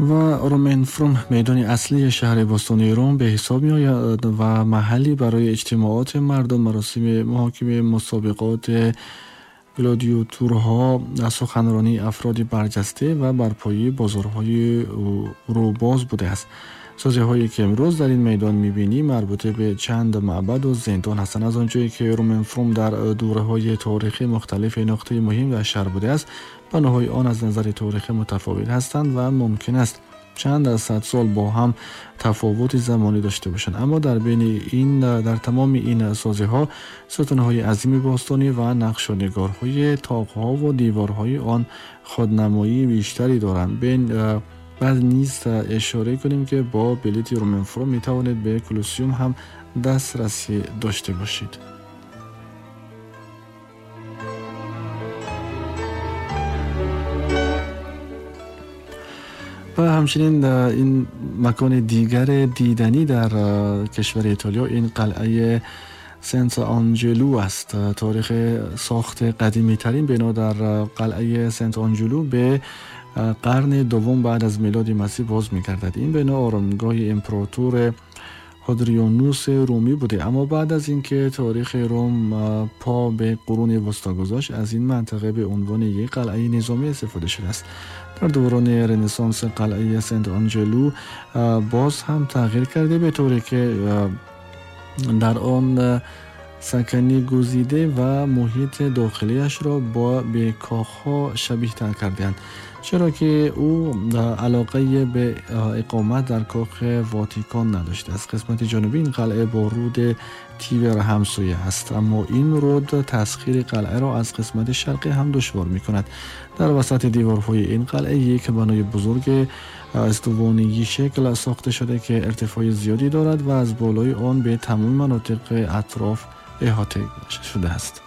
و Roman Forum میدان اصلی شهر باستانی روم به حساب می آید و محلی برای اجتماعات مردم، مراسم محاکمه، مسابقات گلادیاتورها، سخنرانی افراد برجسته و برپایی بازارهای روباز بوده است. سازه هایی که امروز در این میدان میبینی مربوط به چند معبد و زندان هستند. از آنجایی که Roman Forum در دوره های تاریخی مختلف نقطه مهم در شهر بوده است، بناهای آن از نظر تاریخی متفاوت هستند و ممکن است چند از صد سال با هم تفاوت زمانی داشته باشند. اما در بین این در تمام این سازه ها ستون های عظیم باستانی و نقش و نگارهای طاق ها و دیوارهای آن خودنمایی بیشتری دارند. بین بعد نیز اشاره کنیم که با بلیت Roman Forum می توانید به کلوسیوم هم دسترسی داشته باشید. و همچنین این مکان دیگر دیدنی در کشور ایتالیا این قلعه سنت آنجلو است. تاریخ ساخت قدیمی ترین بنا در قلعه سنت آنجلو به قرن دوم بعد از میلاد مسیح باز می‌گردد. این بنا آرامگاه امپراتور هادریانوس رومی بوده، اما بعد از اینکه تاریخ روم پا به قرون وسطا گذاشت، از این منطقه به عنوان یک قلعه نظامی استفاده شده است. در دوران رنسانس قلعه سنت آنجلو باز هم تغییر کرده، به طوری که در آن سکنی گزیده و محیط داخلیش را با به کاخها شبیه تر کردند، چرا که او علاقه به اقامت در کاخ واتیکان نداشته است. قسمت جنوبی این قلعه با رود تیبر همسایه است، اما این رود تسخیر قلعه را از قسمت شرقی هم دشوار می کند. در وسط دیوارهای این قلعه یک بنای بزرگ استوانگی شکل ساخته شده که ارتفاع زیادی دارد و از بالای آن به تمام مناطق اطراف احاطه شده است.